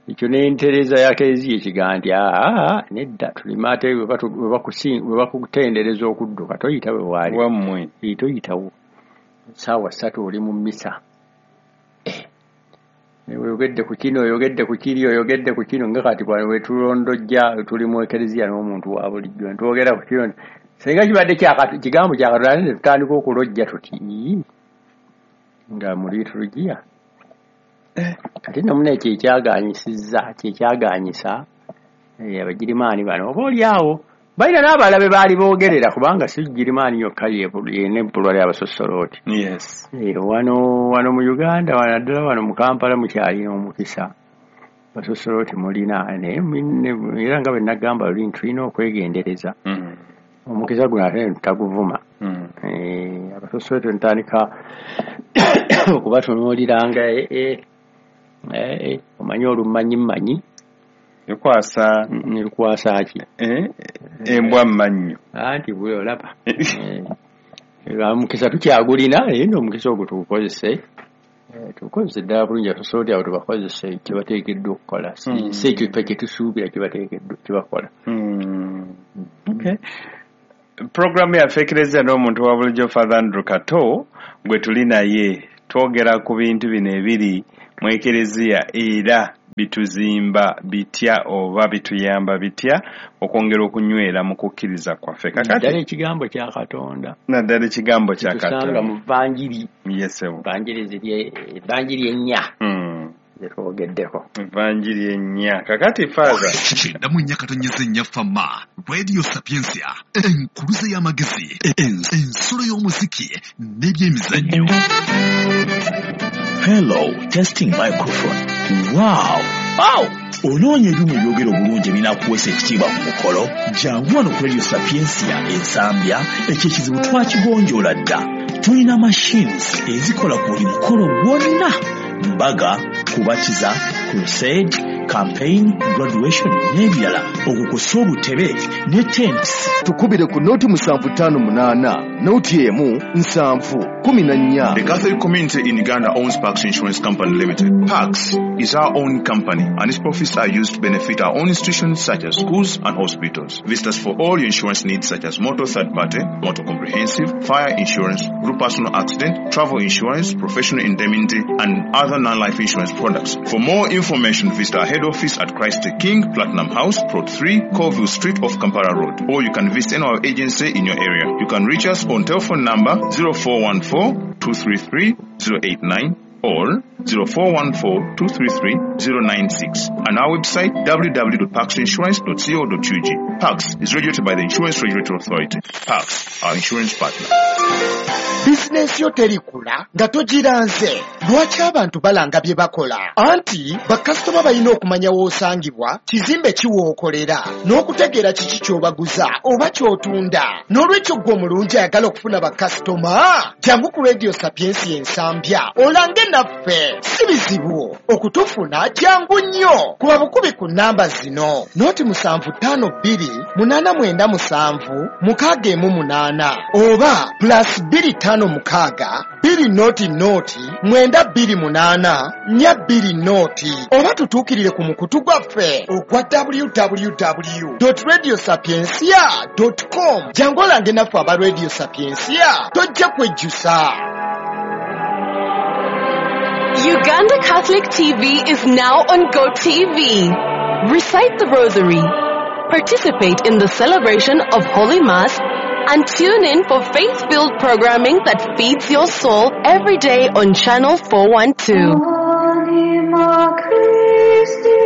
ekyo n'entereeza ya Kereziya ekigamba nti aa nedda, tulime ate bwe bakutendereza okudduka toyita we waali wammwe, toyitawo essaawa ssatu oli mu mmisa. Oyogedde ku kino, oyogedde ku kiri, oyogedde ku kino, nga kati bwe tulondojja tuli mu Ekereziya n'omuntu wa bulijjo ntwogera ku kino, singa kibadde kigambo kya Katonda ne tutandika okulojja tuti nga mu liturujia. Kati nno muna ekyo ekyagaanyisizza, kyekyagaanyisa Abagirimaani bano oba oli awo balina n'abalala be baali boogerera, kubanga si Girimaani yokka y'ebbulwa ly'abasosolooti. Yes. Wano wano mu Uganda, wano naddala wano mu Kampala mukyalina omukisa, basosolooti mulina, naye era nga bwe nagamba luli nti tulina okwegendereza. Omukisa guno ate ne tutaguvuma. Abasosolooti ntandika okubatunuuliranga omanyi olumanyi mmanyi Ekwasa ekwasa ki? Embwa mmannyo. Anti bwe olaba. Omukisa tukyagulina, naye nno omukisa ogwo tugukozese. Tugukozese ddala bulungi, abasosoloti abo tubakozese kye bateekeddwa okukola. Si ekyo ffe kye tusuubira kye bateekeddwa kye bakola. Okay. Programu yaffe Ekereziya n'omuntu wa bulijjo Father Andrew Kato gwe tuli naye twogera ku bintu bino ebiri mu Ekereziya era bituzimba bitya oba bituyamba bitya okwongera okunywera mu kukkiriza kwaffe. Naddala ekigambo kya Katonda, naddala ekigambo kya Katonda tusanga mu Vanjiri. Yes, Vanjiri ziri Vanjiri ennya zetwogeddeko, Vanjiri ennya. Kakati Father kyenda mu nnya katonyeze nnya Fama Radio Sapientia, enkuluze y'amagezi, ensulo y'omuziki n'ebyemizannyo. Hello, testing microphone. Wow! Wow! Onoonya ebyuma ebyogera obulungi ebinaakuweesa ekitiibwa ku mukolo? Jangu wano ku Radio Sapientia Ensambya, ekyo ekizibu twakigonjoola dda. Tulina machines ezikola ku buli mukolo gwonna: mbaga, kubatiza, crusade, campaign, graduation n'ebirala, okukosa obutebe ne tents. Tukubire ku noti musanvu ttaano munaana noti emu nsanvu kumi na nnya. The Catholic community in Uganda owns Pax Insurance Company Limited. Pax is our own company and its profits are used to benefit our own institutions such as schools and hospitals. Visit us for all your insurance needs such as motor third party, motor comprehensive, fire insurance, group personal accident, travel insurance, professional indemnity and other non-life insurance products. For more information, visit our head office at Christ the King, Platinum House, Plot three, Colville Street off Kampala Road. Or you can visit any our agency in your area. You can reach us on telephone number zero four one four, two three three, zero eight nine or zero four one four, two three three, zero nine six and our website w w w dot pax insurance dot co dot u g. Pax is regulated by the Insurance Regulatory Authority. Pax, our insurance partner. Bizinensi yo terikula nga togiranze. Lwaki abantu balanga bye bakola? Anti bakasitoma balina okumanya w'osangibwa, kizimbe ki w'okolera, n'okutegeera kiki ky'obaguza oba ky'otunda. N'olwekyo ggwe omulungi ayagala okufuna bakasitoma, jangu ku Radio Sapientia Ensambya olange naffe. Si bizibu okutufuna, jangu nnyo. Kuba bukubi ku nnamba zino: noti musanvu ttaano bbiri munaana mwenda musanvu mukaaga emu munaana oba plus bbiri ttaano mukaaga bbiri noti noti mwenda bbiri munaana nnya bbiri noti oba tutuukirire ku mukutu gwaffe ogwa w w w dot radio sapientia dot com. Jangu olange naffe aba Radio Sapientia, tojja kwejjusa. Uganda Catholic T V is now on GoTV. Recite the Rosary, participate in the celebration of Holy Mass, and tune in for faith-filled programming that feeds your soul every day on Channel four one two.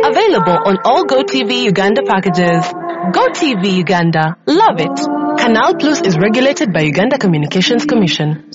Available on all GoTV Uganda packages. GoTV Uganda. Love it. Canal Plus is regulated by Uganda Communications Commission.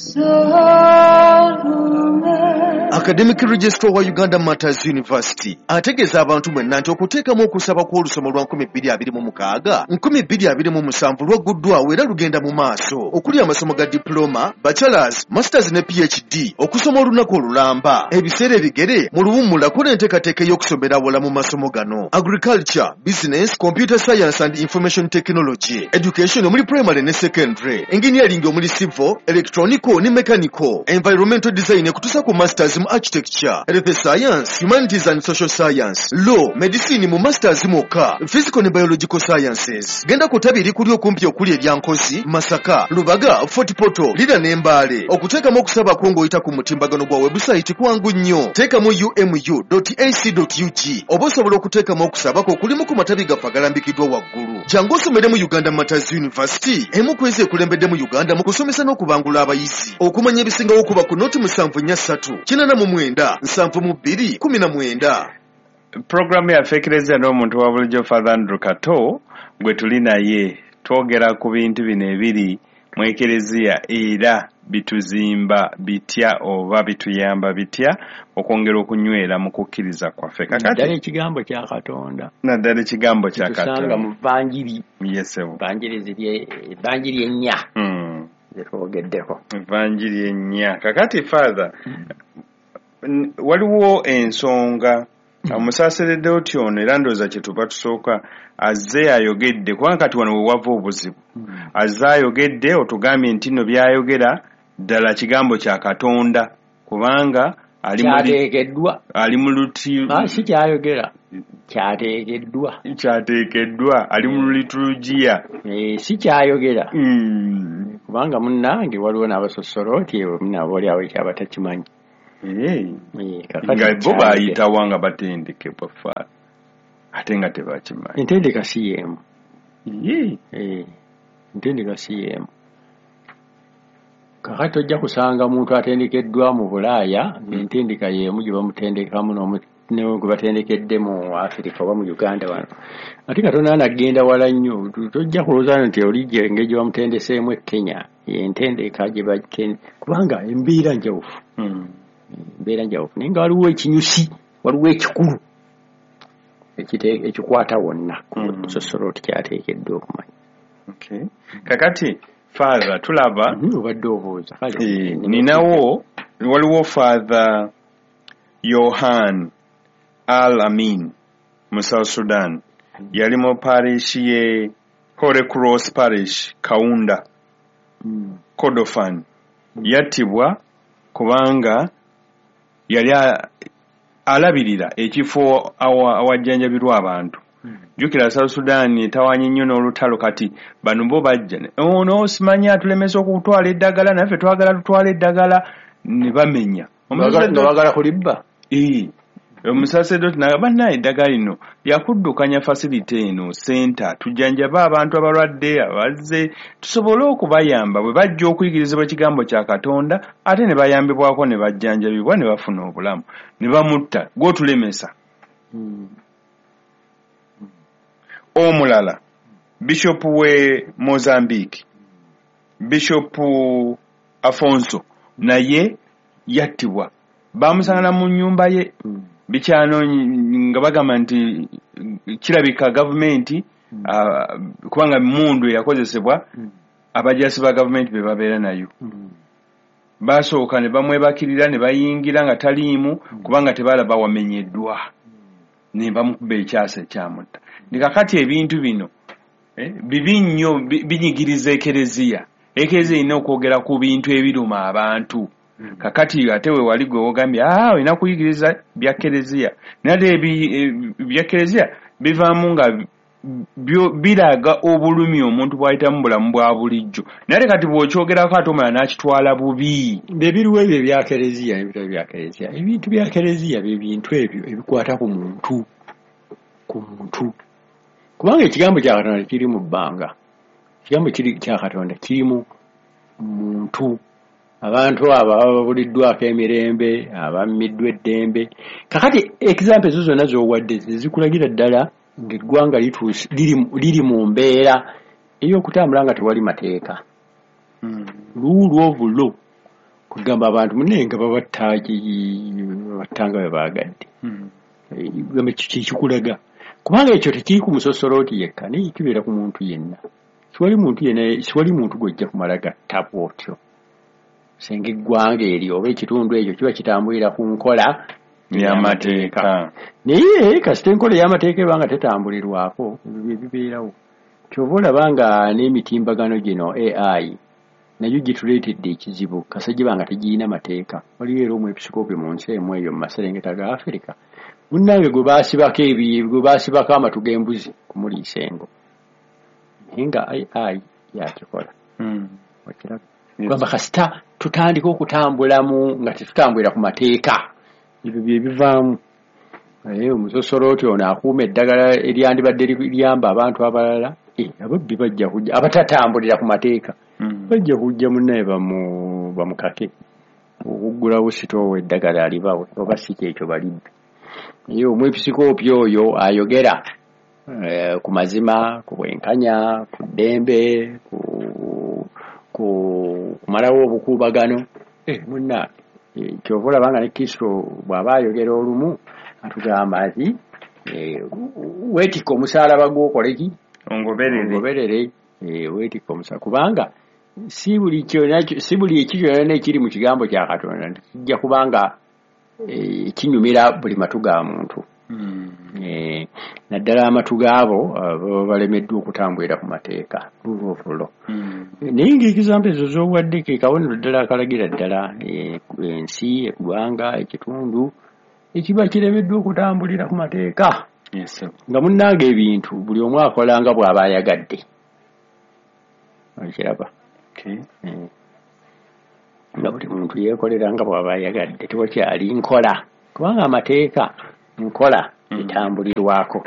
Academic Registrar wa Uganda Martyrs University ategeeza abantu mwenna nti okuteekamu okusaba kw'olusoma lwa nkumi bbiri abiri mu mukaaga nkumi bbiri abiri mu musanvu lwagguddwawo era lugenda mu maaso, okuli amasomo ga diploma, bachelors, masters ne P H D, okusoma olunaku olulamba, ebiseera ebigere mu luwummula n'enteekateeka ey'okusomera awala mu masomo gano: agriculture, business, computer science and information technology, education omuli primary ne secondary, engineering omuli civil, electronical ne mechanical, environmental design okutuusa ku masters mu architecture, health science, humanities and social science, law, medicine mu masters mwokka, physical ne biological sciences. Genda ku ttabi erikuli okumpi okuli erya Nkozi, Masaka, Lubaga, Fort Portal, Lira ne Mbale. Okuteekamu okusaba kwo ng'oyita ku mutimbagano gwa website kwangu nnyo. Teekamu u m u dot a c dot u g oba osobola okuteekamu okusaba kwo okulimu ku matabi gaffe agalambikiddwa waggulu. Jangu osomere mu Uganda Martyrs University, emu ku ezo ekulembedde mu Uganda mu kusomesa n'okubangula abayizi. Okumanya ebisingawo okuba ku noti musanvu nnya ssatu kinaana mu mwenda nsanvu mu bbiri kumi na mwenda. Programu yaffe Ekereziya n'omuntu wa bulijjo Father Andrew Kato gwe tuli naye twogera ku bintu bino ebiri mu Ekereziya era bituzimba bitya oba bituyamba bitya okwongera okunywera mu kukkiriza kwaffe. Naddala ekigambo kya Katonda, naddala ekigambo kya Katonda tusanga mu Vanjiri. Yes, Vanjiri ziri Vanjiri ennya zetwogeddeko, Vanjiri ennya. Kakati Father, waliwo ensonga omusaseredoti ono era ndowooza kye tuba tusooka azze ayogedde, kubanga kati wano we wava obuzibu. Azze ayogedde otugambye nti nno by'ayogera ddala kigambo kya Katonda, kubanga kyateekeddwa, ali mu luti si kyayogera kyateekeddwa, kyateekeddwa ali mu liturujia, si kyayogera. Kubanga munnange waliwo n'abasosoloti nabo oli awo ekyaba takimanyi. Nga bo bayitawa nga batendekebwa fa ate nga tebakimanyi. Entendeka si y'emu. Entendeka si y'emu. Kakati ojja kusanga muntu atendekeddwa mu Bulaaya ng'entendeka y'emu gye bamutendekamu gwe batendekedde mu Afirika oba mu Uganda wano. Ate Katonda anagenda wala nnyo, tojja kulowooza nti oli engeri gye bamutendeseemu e Kenya y'entendeka gye batende, kubanga embeera njawufu. Embeera njawufu naye nga waliwo ekinyusi, waliwo ekikulu ekikwata wonna ku musosoloti kyateekeddwa okumanya. Kakati Father tulaba obadde obuuza. Ninawo waliwo Father Yohan Al Amin mu South Sudan, yali mu parish ye Holy Cross Parish Kaunda, Kordofan. Yattibwa kubanga yali alabirira ekifo awajjanjabirwa abantu. Jjukira South Sudan etawanye nnyo n'olutalo, kati bano bo bajja ono simanyi atulemesa okutwala eddagala, naffe twagala tutwala eddagala, ne bamenya nga bagala kulibba. Omusaseredoti n'agamba bannaye eddagala lino lyakuddukanya facility eno center, tujjanjabe abantu abalwadde abazze tusobole okubayamba bwe bajja okuyigirizibwa ekigambo kya Katonda, ate ne bayambibwako ne bajjanjabibwa ne bafuna obulamu. Ne bamutta gw'otulemesa. Omulala Bishop we Mozambique, Bishop Afonso, naye yattibwa, bamusanga mu nnyumba ye bikyano nga bagamba nti kirabika gavumenti, kubanga mundu eyakozesebwa abajasi ba gavumenti be babeera nayo. Basooka ne bamwebakirira ne bayingira nga taliimu kubanga tebalaba wamenyeddwa, ne bamukuba ekyasa ekyamutta. Kakati ebintu bino bibi nnyo, binyigiriza ekereziya. Ekereziya erina okwogera ku bintu ebiruma abantu. Kakati ate we wali gwe wogambye ah olina kuyigiriza bya kereziya, naye ate bya kereziya bivaamu nga biraga obulumi omuntu bw'ayitamu bulamu bwa bulijjo, naye ate kati bw'okyogerako ate omulala n'akitwala bubi. Ebiriwo ebyo ebya kereziya n'ebitali bya kereziya, ebintu bya kereziya bye bintu ebyo ebikwata ku muntu, ku muntu, kubanga ekigambo kya Katonda kiri mu bbanga, ekigambo kya Katonda kiri mu muntu. Abantu abo ababuliddwako emirembe, abammiddwa eddembe. Kakati example ezo zonna z'owadde zikulagira ddala ng'eggwanga liri mu mbeera ey'okutambula nga tewali mateeka. Rule of law, kugamba abantu munne nga babatta babattanga bwe baagadde. Kikulaga kubanga ekyo tekiri ku musosoloti yekka, naye kibeera ku muntu yenna. Siwali muntu yenna, siwali muntu gw'ojja kumala gatta bw'otyo. Singa eggwanga eryo oba ekitundu ekyo kiba kitambulira ku nkola y'amateeka, naye kasita enkola ey'amateeka eba nga tetambulirwako ebyo bibeerawo. Ky'ova olaba nga n'emitimbagano gino A I nayo gituleetedde ekizibu, kasita giba nga tegirina mateeka. Waliwo era omwepisikoopi mu nsi emu eyo mu maserengeta ga Afirika, munnange gwe baasibako ebi gwe baasibako amatu g'embuzi kumuliisa engo, naye nga A I yakikola. Okiraba? Kugamba kasita tutandika okutambulamu nga tetutambulira ku mateeka, ebyo bye bivaamu. Omusosoloti ono akuuma eddagala eryandibadde liyamba abantu abalala, ababbi bajja kujja, abatatambulira ku mateeka bajja kujja munnaye bamukake okuggulawo sitoowa eddagala alibawe, oba si kyekyo balibbe. Naye omwepisikoopi oyo ayogera ku mazima, ku bwenkanya, ku ddembe, ku kumalawo obukuubagano, munnange ky'ova olaba nga ne Kristo bw'aba ayogera olumu atugamba nti weetikka omusaalaba gw'okole ki? Ongoberere. Weetikka omusaalaba, kubanga si buli ekyo kyonna ekiri mu kigambo kya Katonda nti kijja kubanga kinyumira buli matu ga muntu. Naddala amatu gaabo baba balemeddwa okutambulira ku mateeka, rule of law. Naye ng'ekizambo ezo z'owadde ke kabonero ddala akalagira ddala ensi, eggwanga, ekitundu ekiba kiremeddwa okutambulira ku mateeka. Nga munnange ebintu buli omu akola nga bw'aba ayagadde. Okiraba? Nga buli muntu yeekolera nga bw'aba ayagadde, tewakyali nkola, kubanga amateeka nkola etambulirwako.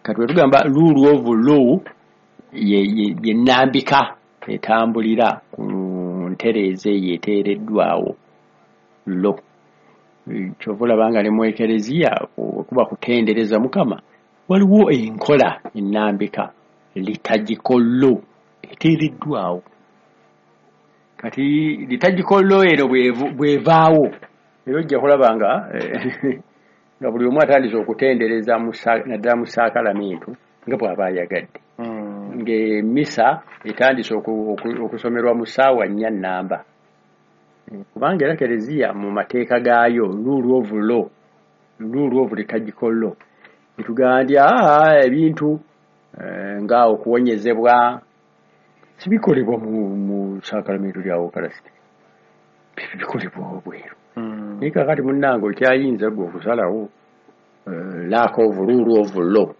Kati bwe tugamba rule of law, ye ye- ye nnambika etambulira ku ntereeza eyo eteereddwawo law. Kyova olaba nga ne mu ekereziya kuba kutendereza Mukama, waliwo enkola ennambika, liturgical law, eteereddwawo. Kati liturgical law eno bw'evu- bw'evaawo, era ojja kulaba nga eh, nga buli omu atandise okutendereza mu sa- naddala mu saakalamentu nga bw'aba ayagadde, ng'emmisa etandise oku- oku- okusomerwa mu ssaawa nnya nnamba. Eh, kubanga era kereziya mu mateeka gaayo, rule of law, rule of liturgical law, etugamba nti aa ebintu eh, nga okuwonyezebwa sibikolebwa mu, mu saakalamentu lya Eucharist, bikolebwa wabweru. Naye kakati munnange okyayinza gwe okusalawo, eh, lack of rule of law.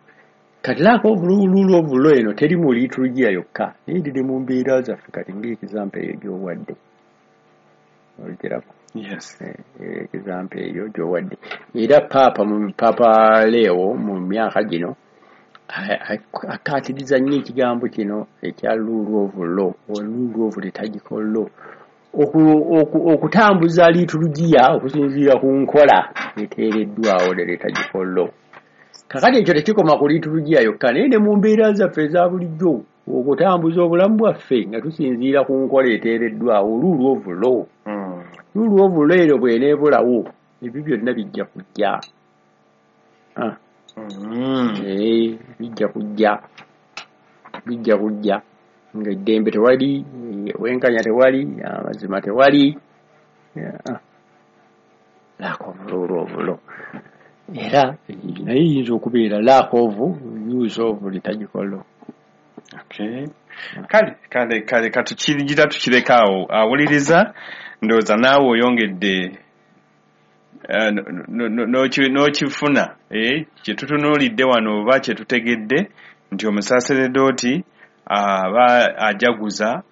Kati lack of rule of law eno teri mu liturgia yokka, naye eri mu mbeera zaffe. Kati ng'e example eyo gy'owadde, ogiraba? Yes. Example eyo gy'owadde, era paapa mu Paapa Leo mu myaka gino a- a- akkaatiriza nnyo ekigambo kino ekya rule of law or rule of liturgical law, Oku- oku- okutambuza liturgiya okusinziira ku nkola eteereddwawo, ne liturgical law. Kakati ekyo tekikoma ku liturgiya yokka, naye ne mu mbeera zaffe eza bulijjo, okutambuza obulamu bwaffe nga tusinziira ku nkola eteereddwawo, rule of law. Rule of law ero bw'eneebulawo, ebyo byonna bijja kujja. Ah. Eh, bijja kujja bijja kujja ng'eddembe tewali, obwenkanya tewali, amazima tewali. Yeah. Lack of rule of law, era naye eyinza okubeera lack of use of liturgical law. Okay. Kale kale kale katukigira tukireka awo. Awuliriza, ndowooza naawe oyongedde eh, no- no- n'oki- n'okifuna eh, kye tutunuulidde wano oba kye tutegedde nti omusaseredooti aba ajaguza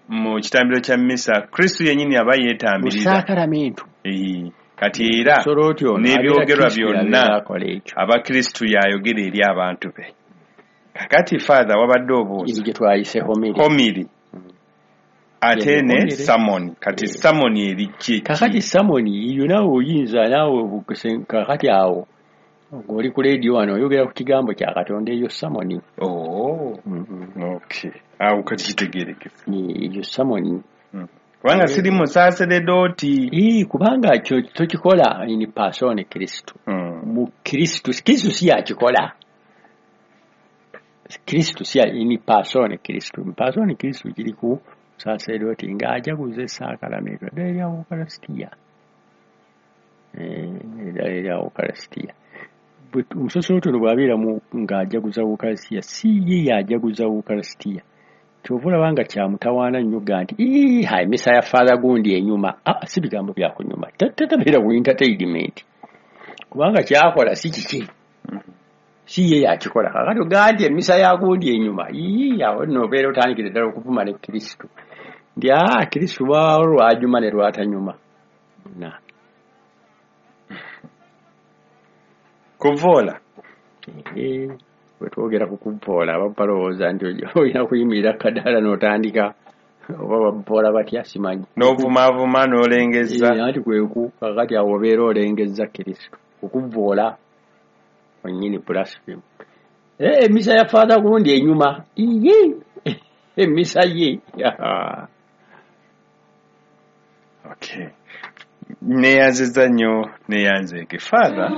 mu kitambiro kya misa, Kristo yennyini aba mu yeetambirira. Saakalamentu. Eh, kati era Omusaseredooti ono n'ebyogerwa abeera Kristo byonna yabeera akola ekyo. Aba Kristo yayogera eri abantu be. Kakati Father, wabadde obuuza eri gye twayise homily. Homily ate Ye ne homily. sermon. Kati sermon eri ki? Kakati sermon eyo naawe oyinza naawe obukuse- kakati awo ng'oli ku leediyo wano oyogera ku kigambo kya Katonda, eyo sermon. Oh, okay, awo kati kitegerekese. Eyo sermon. Kubanga siri musaseredooti. Ii, kubanga kyo tokikola in persona Kristo, mu Kristo. Kristo si yakikola, Kristo si ya- in persona Kristo. In persona Kristo kiri ku saseredooti ng'ajaguza esaakalamentu eddala erya Ukaristia. Eh, eddala erya Ukaristia. Bwe- omusaseredooti ono bw'abeera mu ng'ajaguza Ukaristia, si ye yajaguza Ukaristia. Kyova olaba nga kyamutawaana nnyo ga nti, "Ii, ha emisa ya Father gundi enyuma." Ah, si bigambo bya kunyuma. Tatabeera ku entertainment, kubanga kyakola si kiki, si ye yakikola. Kakati ogaa nti emisa ya gundi enyuma, ii, awo nno obeera otandikire ddala okuvuma ne Kristo nti aa Kristo lwawo lwajuma ne lwatanyuma na Kuvoola. Eh, bwe twogera ku kuvoola, abamu balowooza nti olina kuyimirira kadaala n'otandika, oba bavoola batya simanyi. N'ovumaavuma n'olengezza. Eh, anti kweku kakati awo obeera olengezza Kristo, okuvoola onyini, blasphemy. Eh, emisa ya Father gundi enyuma, iye emisa ye. Okay, neyanziza nnyo, neyanzeeke Father.